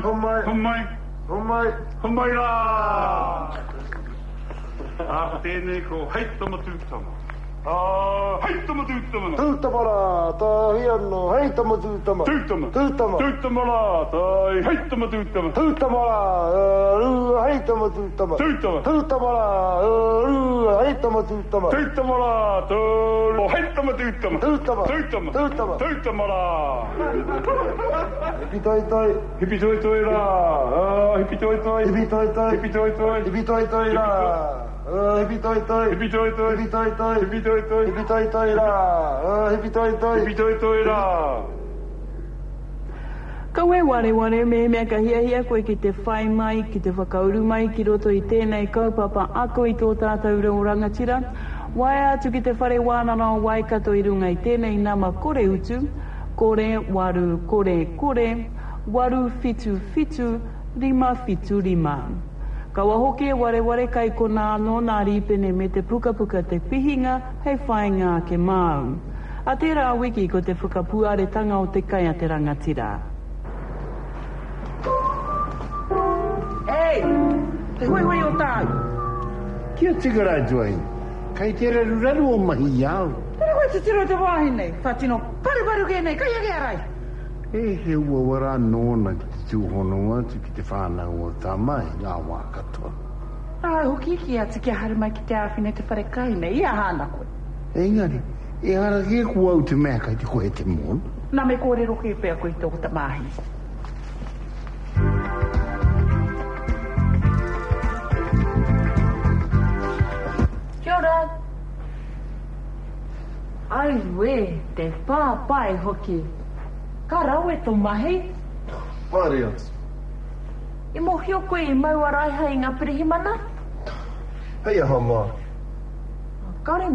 Homai. Homai. Homai. Homai rā! Ā, ko tēnei ko Hei Tama Tū Tama. Ā, hei tama tū tama nā. Tū tama rā, tāhi anō, hei tama tū tama. Tū tama. Tū tama. Tū tama rā, tāhi, hei tama tū tama. Tū tama rā, rua, hei tama tū tama. Tū tama. Tū tama rā, rua, hei tama tū tama. Tū tama rā, tū, hei tama tū tama. Tū tama. Tū tama. Tū tama. Tū tama rā. Hipi toi toi. Hipi toi toi rā, ā, hipi toi toi. Hipi toi toi. Hipi toi toi. Hipi toi toi rā. Hipi toi toi. Hipi toi toi. Hipi toi toi. Hipi toi toi. Hipi toi toi rā. Hipi toi toi. Hipi toi toi rā. Kaua e wareware mehemea ka hiahia koe ki te whai mai, ki te whakauru mai ki roto i tēnei kaupapa ako i tō tātou reo rangatira, waea atu ki te Whare Wānanga o Waikato i runga i tēnei nama kore utu, kore, waru, kore, kore, waru, whitu, whitu, rima, whitu, rima. Kaua hoki e wareware kai konā anō nā rīpene me te pukapuka Te Pihinga hei whāinga ake māu. A tērā wiki ko te whakapuaretanga o te kai a te rangatira. Ei! Te huihui o tāu! Kia tika rā te wahine, kei te raruraru o mahi i a au. Tēnā koe titiro i te wāhi nei, wha tino paruparu kē nei, kai ake a Rai! E he uaua rā nōna ki te tūhono atu ki te whānau o Tama i ngā wā katoa. Āe hoki, kī atu kia haere mai ki te āwhina i te whare kai nei, i aha ana koe? Engari, ehara kē ko au te mea kei te kohe te mōna. Nā, me kōrero kē pea koe i tō tamāhine. Kia ora! Auē, te pāpai hoki! Ka rawe to mahi! Haere atu. I mōhio koe i mau a Raiha i ngā pirihimana? Hei aha māku? Kāore.